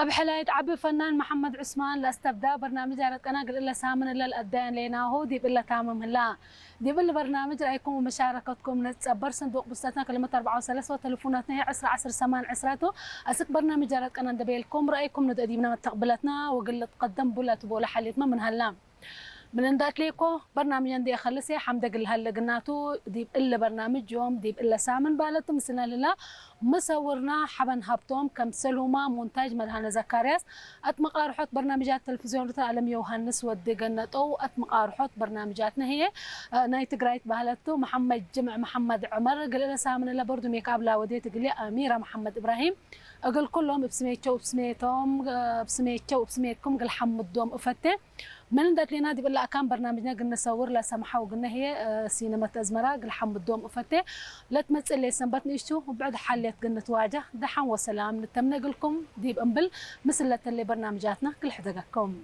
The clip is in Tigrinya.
ኣብ ሕላይት ዓቢ ፈናን መሓመድ ዑስማን ለስተብዳ በርናምጅ ኣረቀና ግልእለ ሳምን እለ ልኣዳያን ሌናሁ ዲብ እለ ታምም ህላ። ዲብ እለ በርናምጅ ራእይኩም ወመሻረከትኩም ንጸበር ሰንዱቅ ብስተትና ክልመት ኣርባዓ ወሰለስተ ወተልፉናትና ህየ ዕስራ ዓስር ሰማን ዕስራቱ። ኣስክ በርናምጅ ኣረቀና እንደበየልኩም ራእይኩም ንደዲብና መተቅብለትና ወግል ልትቀደም ቡለ ትቦለ ሓልየትመ ምን ሀላ። ምን እንዳትሌኮ በርናምጀ እንዴ ኸልሴ ሓምደ ግልሃል ለግናቱ ዲብ እለ በርናምጅ ዮም ዲብ እለ ሳምን ባለቱ ምስልና ልላ መሰውርና ሓበን ሃብቶም ከም ሰልሁማ ሞንታጅ መድሃነ ዘካርያስ ኣት መቃርሖት በርናምጃት ተለቪዝዮን ሩታ ኣለም ዮሃንስ ወዲ ገነጠው ኣት መቃርሖት በርናምጃት ነህየ ናይ ትግራይት ባህለቱ መሐመድ ጅምዕ መሐመድ ዕመር ግልእለ ሳምን እለ በርዱ ሜክ ኣብ ላወዴ ትግሌ ኣሚራ መሐመድ እብራሂም እግል ኩሎም እብ ስሜቸው እብ ስሜቶም እብ ስሜቸው እብ ስሜትኩም ግል ሓምዶም እፈቴ። ምን እንደትሌና ዲብ እለ ኣካን በርናምጅነ ግንሰውር ለሰምሐው ግነ ህየ ሲነመት አዝመራ ግል ሓምዶም እፈቴ። ለትመጽእ ሌት ሰንበት ንእሽቱ ብዕድ ሓልየት ግንትዋጃ ደሓን ወሰላም ንተምነ እግልኩም ዲብ እምብል ምስል ለተሌ በርናምጃትና ግል ሕደገኩም።